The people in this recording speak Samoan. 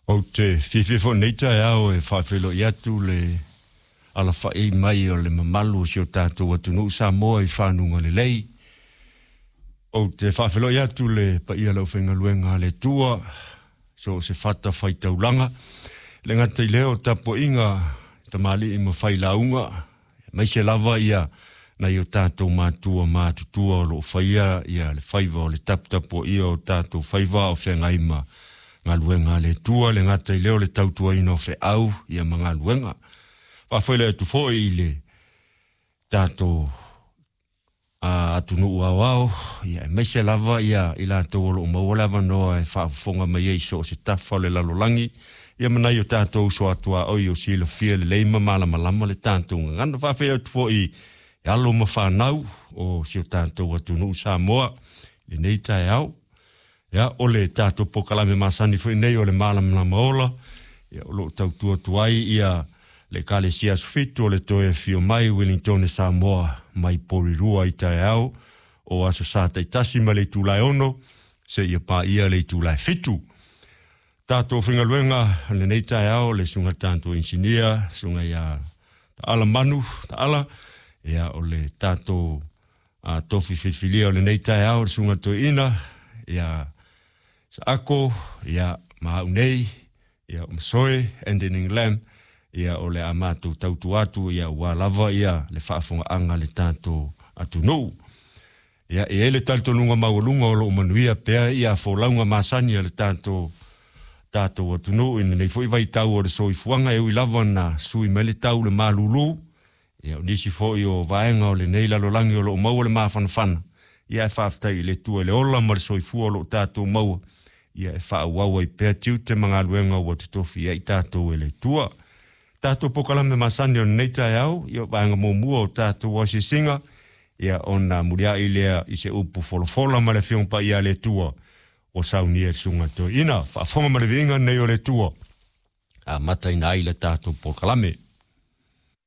Ou te fiafia foi i lenei taeao e faafeiloai atu le alafai mai o le mamalu o si o tatou atunuu Samoa i fanuga lelei. Ou te faafeiloai atu le paia o le aufaigaluega a le Atua, so o se fata faitaulaga, le gata i lea o tapuaiga tamalii ma failauga, aemaise lava ia nai o tatou matua matutua o lo o faia ia le faiva o le taputapuaia o tatou faiva o feagai ma galuega a le Atua, le gata i lea o le tautuaina o feau ia ma galuega. Faafoile atu foi i le tatou atunuu aoao, ia aemaise lava ia i latou o lo o maua le avanoa e faafofoga mai ai i so o se tafa o le lalolagi, ia ma nai o tatou uso atuaoi o silafia lelei ma malamalama le tatou gagana. Faafetai atu foi i alo ma fanau o si o tatou atunuu Samoa i lenei taeao. Ia, o le tatou polokalame masani foi nei o le Malamalama Ola, ia, o lo o tautua atu ai ia le Ekalesia Aso Fitu o le Toe Afio Mai Wellingtone Samoa mai Porirua i taeao o Aso Sa taitasi mai le itula e 6 seia paia le itula e 7. Tatou faigaluega o lenei taeao, le susuga i le tatou inisinia, susuga ia Taala Manu Taala, ia o le tatou tofi filifilia o lenei taeao, le susuga i le toeaina ia Saako, ia ma au nei, ia o Masoe Andening Lam, ia o le a matou tautua atu ia ua lava ia le faafogaaga a le tatou atunuu. Ia e i ai le talitonuga maualuga o lo o manuia pea ia folauga masani a le tatou atunuu i lenei foi vaitau o le soifuaga, e ui lava na sui mai le tau le malulu. Ia o nisi foi o vaega o lenei lalolagi o lo o maua le mafanafana, ia e faafetai i le Atua i le ola ma le soifua o lo o tatou maua, ia e faaauau ai pea tiute ma galuega ua totofi ai tatou e le Atua. Tatou polokalame masani o lenei taeao, ia o vaega muamua o tatou asiasiga, ia ona muliai lea i se upu folafola ma le Afioga Paia a le Atua ua saunia e le Susuga Toeaina. Faafofoga ma le viiga lenei o le Atua, amataina ai le tatou polokalame.